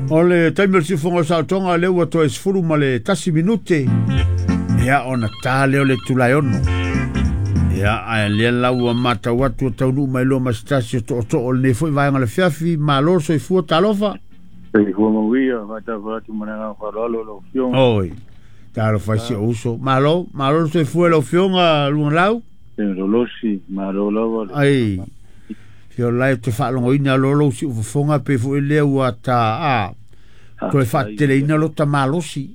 O le taimi o le siufofoga o le saotoga lea ua toe 11 minute. Ia ona ta lea o le Tulaeono. Ia ae lea la ua matau atu ua taunuu mai loa ma se tasi o tootoo o lenei foi vaega o le fiafi. Malo le soifua talofa. Soifua manuia, faatalofa atu ma le agaga faaaloalo lau Afioga. Oi, talofa i si ou uso. Malo, malo le soifua i lau Afioga Lugalau. Lolosi, malo lava le. Ai, fio lai ou te faalogoina loa lou siufofoga pe foi lea ua ta a toe faateteleina lota malosi.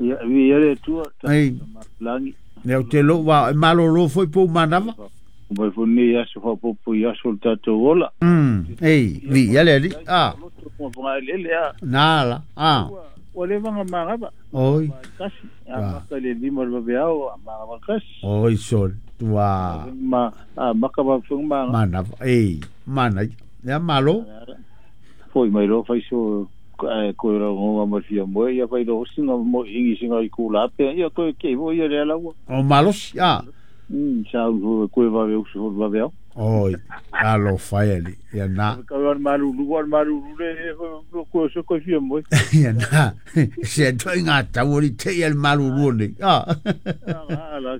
Ia, viia le Atua, Ai. lagi. Ia ou te lo ua e malolo foi po o manava. Mai foi lenei aso faaopoopo i aso o le tatou ola. Ei, viia le Alii. A. Loto fogafogaeleele a. Na la. A. Ua leva ona magava. Oi. Kasi. A maka i le 5 o le vaveao, a magava kasi. Oi sol. Tua. Ma, a maka vaveao magava. Manava. Ei, manai. Ia malo. Foi mai loa fai so koe rau ma fia moe ia fai lo singa mo ingi singa i kula pe ia koe ke vo ia le alaua. O malosi a. Sa u koe vave usu ho vave au. Oi, alo fai ali. Ia na. Ka wan malu lu wan malu lu le koe so koe fia moe. Ia na. Se toi ngā tau ori te ia le malu lu nei. A. Ala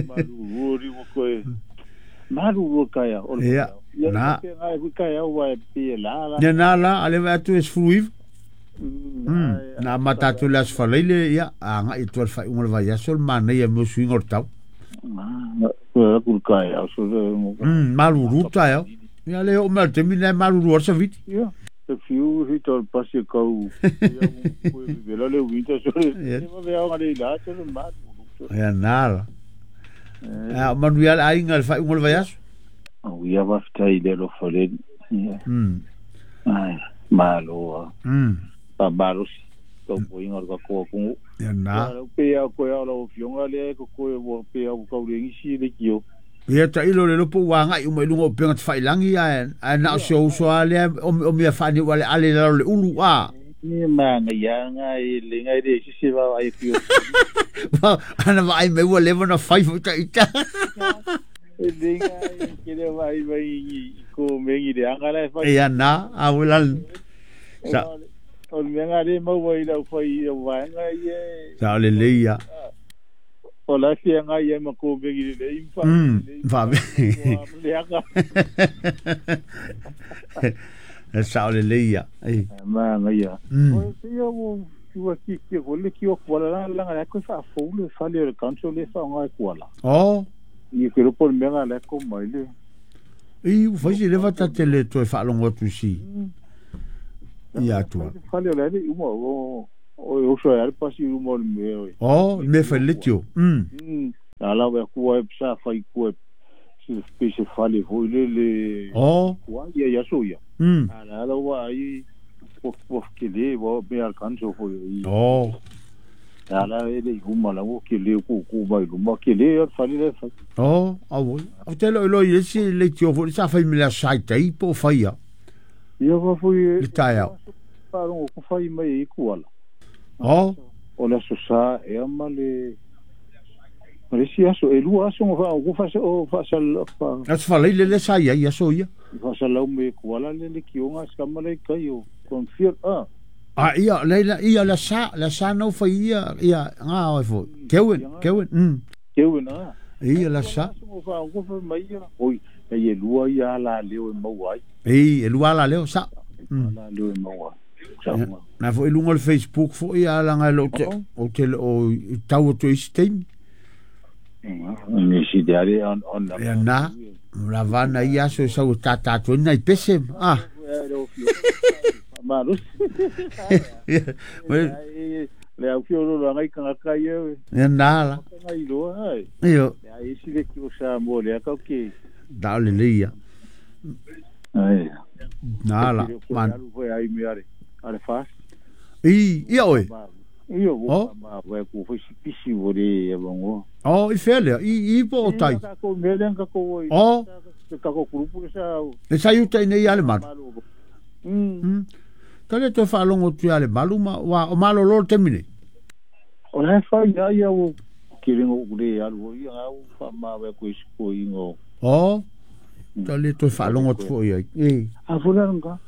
malu lu ri wo koe. Malu lu kai o. Ia. Na. La. Ia na la ale va atu e sfuiv. Na matatu le aso faleile ia a ngai tu al fai unga le vai aso le manaia mo suiga o le tau. Malulu taeao. Ia le oo mai o le taimi lena e malulu ai le savili. Ia, te fiu hita o le pasi e kau. Ia koe vevela le winter so le. Ia. Ia vave le ila so le malulu. Ia na la. A o manuia le aiga i le faaiuga o le vaiaso. Au ia waftai le alofa le. Ia. Ai, malo a. Pa malosi. Tau poinga o le kakoa kungu. Ia na. Ia pe au koe au lau afioga lea ko koe ua pe au kau le ngisi le kio. Ia tailo le lopo ua agai uma i luga o upega tafailangi ae ae na o si ou uso lava lea o mea faaniu aleale i lalo o le ulu a. Ia manaia nga e le ngai le sisi va ai kio. Ana vaai mai ua leva ona fai foi taita. E le ngai ke le vai vai i ko mengi le anga la e fai. Ia na a ua lal. Sa O le mea nga le maua i lau fai i au vaega ia. Sa o le lei ia. O la fia ngai ia ma ko mengi le lei mfa. Mfa. Le anga. Sa o le lei ia. Ei. Ma ngai ia. O ia o ua ki ki ko le ki o kuala la la la ko fa fou le fale o le council le fa ngai kuala. O. I ke ropo le mea nga le ko mai le. I ua fai si leva tate le toe faalogo atu i si. Ia atua. Fale o le ale uma o o oso e ale pasi uma o le mea o. O, le mea fai le tio. Na la wea kua e psa fai kua se pe se fale foi le le. O. Kua ia ia so ia. Ala ala wa ai po ke le wa me al kanso foi i. O. Ala e le uma la o ke le ku ku mai luma ke le fale le fai. O, au. Au te lo lo i se le tio foi sa fai me la sai tai po fai ia. Ia va foi le taeao. Faalogo ku fai mai i kuala. O. O le aso sa e ama le o le isi aso e lua aso nga ku fa o fa sal fa. Aso faleile le sa ia aso ia. Fa salau me kuala le le kionga skama le kai o confir a. A ia le la ia la sa no fa ia ia nga o fo. Kewen, kewen. Kewen a. Ia la sa. Fa ku fa mai ia. Oi e lua ia la leo e mau ai. Ei, e lua la leo sa. La leo e mau ai. Na foi luga o le Facebook foi a langa lo te o te o tau o te isi taimi. Ni si te are on on. Ia na, la vana ia aso e sau e tātātua ina i pese. Ah. Malus. Le au fio lo ngai kangaka ia. Ia na la. Ngai loa ai. Io. Le ai si le ki o sa mo le ka ke. Da le le ia. Ai. Na la. Man. Ai me are. Ale fast. I ia oi. Io o ma wa ku foi si pisi o le bongo. O i fele i po o tai. Ko me le ka ko O ka ko grupo sa. Le sa yuta nei ale malu. Tale to faalogo tu ale malu ma wa o malo lo temine. O le fa ia ia o kiringo le alu ia au fa ma wa ku ko ingo. O tale to faalogo tu ia. E. A fula nga.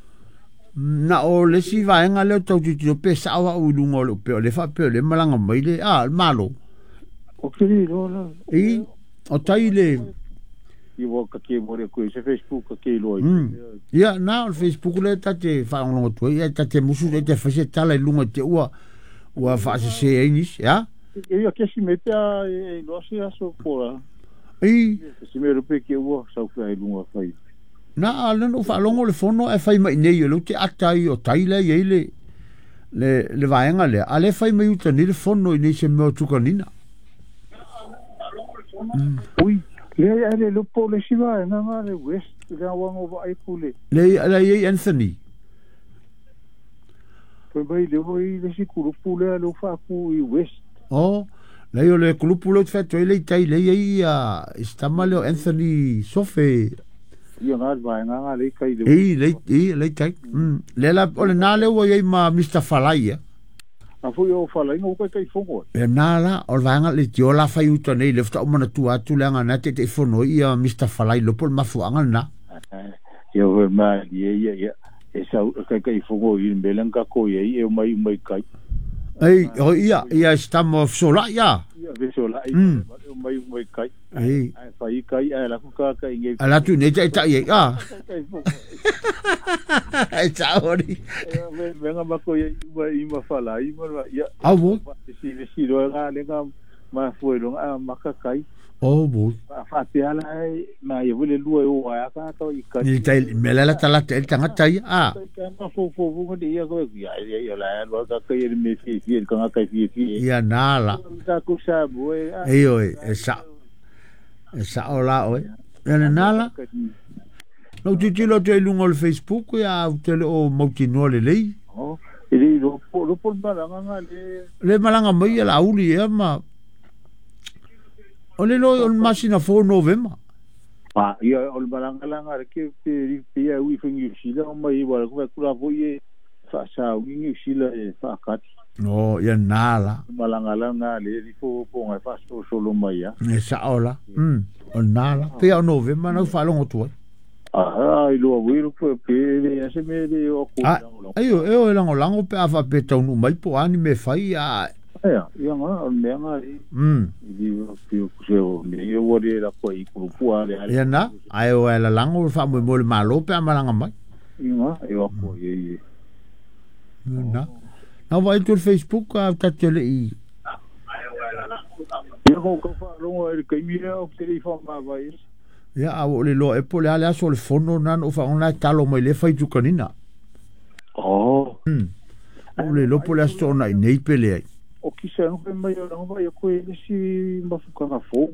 Na o le si vaega lea o tau tilotilo pe sa'o a'u i luga o le upe o le faapea o le malaga mai le a le Malo. O ke le iloa la. I o tai le I ua ka ke mo le koe se Facebook ka ke iloa i. Ia na o le Facebook le ta te faalogologo atu ai, ia ta te musu e te fai se tala i luga i te ua ua faasese ai nisi, a? Ia kesi me pea e iloa se aso po la. I Kesi me rupe ke ua sau pea i luga fai. Na a le no faalogo le fono e fai mai nei o le te ata i o tai le i le le vaega lea, a le fai mai uta ni le fono i nei se mea o tukanina. Ui, le ai le lupo le siva e nga le West le wango va ai pule. Le le i Anthony. Foi mai le oi le si kulupu le le fa ku i West. Oh, le o le kulupu le fa toi le tai le i a istama le Anthony Sofe. Ia nga va nga le kai le. Ei le i le tai. Le la o le na le o i ma Mr Falai. A foi o Falai ngo kai kai fongo. E na la o vaega le tio la fai uta nei le fta o mana tu atu le anga na te te fono i a Mr Falai lo pol mafuanga na. Ia o ma ia ia ia e sau kai kai fongo i melan ka ko ia e mai mai kai. Ei o ia ia stamo sola ia. Ia ve sola i mai mai kai. Ei ai fai kai ai la ku ka kai nge. Ala tu nei tai tai a. Ai saori. Me nga ma ko ia i ma Falai ma ia. Au mo. Si si lo ga le ga ma foi lo a maka kai. Oh bo. Fa te ala ai ma ia vele lua o a ka to i kai. Ni tai me la la tala te tanga tai a. Ka ma fo fo fo ni ia ko ia ia ia la lo ka kai me fi fi ka ka fi fi. Ia na la. Ka ku sa bo e. Ei oi e sa. E sa o la oi. Ia na la. No ti ti lo te lunga o le Facebook ia te le o mautinoa le lei. Oh, e le lo po lo po malanga nga le. Le malanga mai la uli e ma. O le lo o masina 4 November. Ah, ia o le malanga langa le ke pe pe ui fengi sila o mai wa ko kula fo ye fa sa ui sila e fa kat. No, ia na la. Malanga langa le ri fo po ngai fa so so lo mai ya. E sa ola. O na la. Pe o November na fa longo tu. Ah, i lo ui lo pe le se me le o ko. Ah, ayo e o lango lango pe afa pe taunu mai po ani me fai a. Ia, ia nga, o mea nga i. I di se o me i o le la ko i kulupu a le. Ia na, ai o la lango fa mo mo le malo pe amalanga mai. I nga, e o ko i i. Na. Na vai tu Facebook a ta te le i. Ia ko ka fa longo e kai mi o te le fa ma vai. Ia a o le lo e po le ale aso le fono na no fa ona talo mai le fai tu kanina. Oh. O le lo po le aso na i nei pele ai. O kisa no mai o mai ko e si mafukanga fo